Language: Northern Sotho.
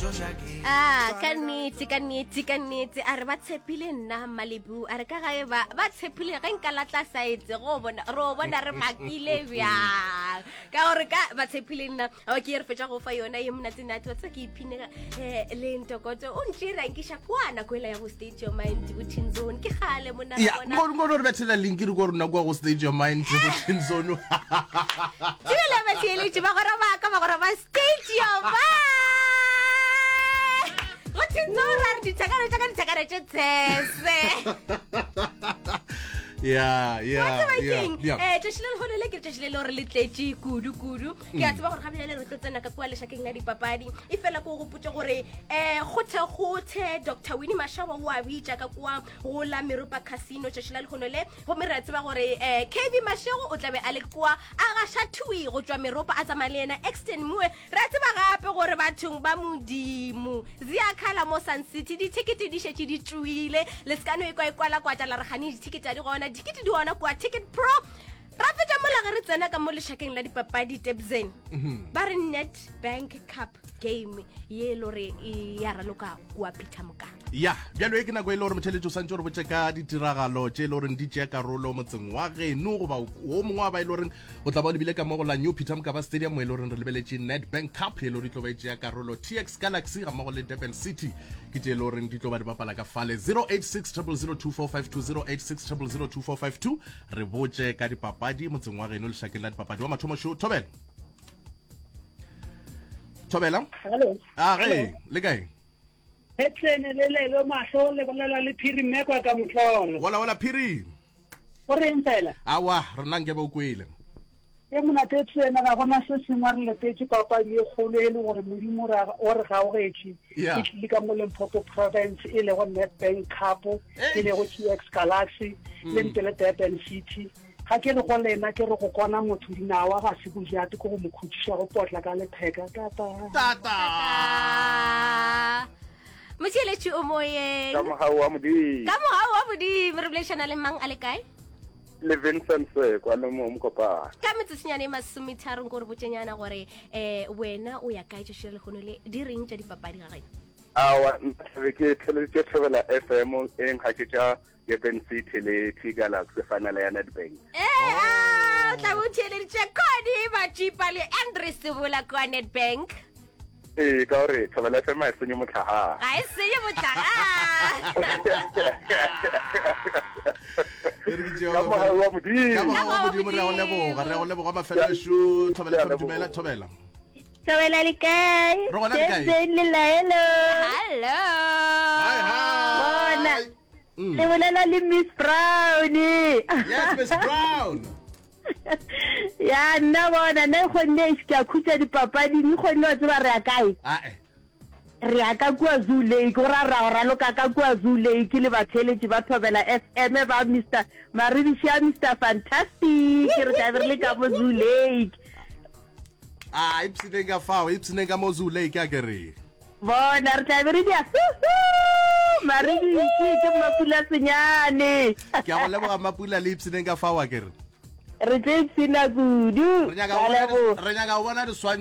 A ka nnete, ka nnete, ka nnete, a re ba tshepile nna Malibu, a re ka gae ba ba tshepile ge nka latla saetse go bona ro bona re makile bjang ka gore ka ba tshepile nna o ke re fetša go fa yona ye monate nate wa tseba ke iphine eh, le ntokoto o ntše ra nkiša kwa nako ela ya go state your mind go teen zone ke gale monna ya ngo ngo re bethela link re go rona kwa go state your mind go teen zone Dumela batheeletši bagwera ba ka bagwera ba state your mind go teen zone ra re dithakano tša ka dithakano tše tshese ya ya ya ya eh tšatši le lehono le ke letšatši le le gore le tletše kudu kudu ke a tseba gore ga bjale re tlo tsena ka kua lešakeng la dipapadi e fela ko gopotse gore um kgothe-kgothe dr winnie mashaba o a bitša ka kua go la meropa casino tšatši la lehono le gomme re a tseba gore um kb mashego o tlabe a le kua a gaša thui go tšwa meropa a tsamaya le yena exton moe re a tseba gape gore bathong ba modimo ziakhala mo sun city dithekete di šetše di tšwile le se ka no e kwa e kwalakwatša la re gane dithekete a di gona dithekete di gona kua ticket pro Ra fetša mola ge re tsena ka mo lešakeng la dipapadi Tebzen. Mhm. Ba re Nedbank Cup game ye e le gore e ya raloka kua Peter Mokaba. Ya, bjalo e ke nako e le gore motheletši o santše o re botše ka ditiragalo tše e le goreng di tšea karolo motseng wa geno goba wo mongwe wa ba e le goreng o tla ba o lebile ka mo go la New Peter Mokaba Stadium mo e le goreng re lebeletše Nedbank Cup e le gore e tlo ba e tšea karolo TX Galaxy ga mmogo le Durban City ke tše e le goreng di tlo ba di bapala ka fale 086 0002452 086 0002452 Re botše ka dipapadi motseng wa geno lešakeng la dipapadi. Wa mathomo šo, Thobela. Thobela. Hello. A ge, le kae? Hetlene le lebe mahlo le bolela le Phiri Mmekwa ka motlolo. Wala wala Phiri. O reng fela? Awa, rena nke ba o kwele. E monate tsena ga gona se sengwe re letetše papadi e kgolo e le gore Modimo o re gaogetše. E tlile ka mo Limpopo Province e lego Nedbank Cup, e lego TX Galaxy le mm. nte le Durban City. Ga ke re go lena ke re go kona motho dinawa ga se bojate ke go mo khutšiša go potla ka letheka. Tata. Tata. Motheeletši o moyeng. Ka mogau wa Modimo. Ka mogau wa Modimo re boledišana le mang a le kae? Le Vincent Sekwa le mo Mokopane. Ka metsotsonyana e masometharong ko re botšenyana gore um wena o ya kae tšatši la lehono le di reng tša dipapadi ga geno? Aowa, nna thabe ke theleditše Thobela FM e nkgaketša Durban City le T Galaxy final ya Nedbank. Ee, a o tla bo o theeleditše Cody Matšipa le Andre Sebola kua Nedbank. Ee, ka gore Thobela FM ga e senye mohlagare. Ga e senye mohlagare. Ka mogau wa Modimo. Ka mogau wa Modimo re a go leboga, re a go leboga mafelelo Thobela FM dumela Thobela. Thobela le kae? Re gona le kae? Jane le Laelo. Hello. Hi hi. Bona. Mm. Le bolela le Miss Brown. Yes, Miss Brown. Ya nna bona nna e kgonne eish ke a khutša dipapading e kgonne wa tseba re ya kae? Ae. Re ya ka kua Zoo Lake go ra ra go raloka ka kua Zoo Lake le batheeletši ba Thobela FM ba Mister Maribiši a Mister Fantastic re tla be re le ka mo Zoo Lake. A ipshineng ka fao, ipshineng ka mo Zoo Lake a ke re. Bona re tla be re dia huhu Maribiši ke Mmapula Senyane. Ke a go leboga Mmapula le ipshineng ka fao a ke re. Re tlo ipshina kudu. Re nyaka go bona, re nyaka go bona diswantšho.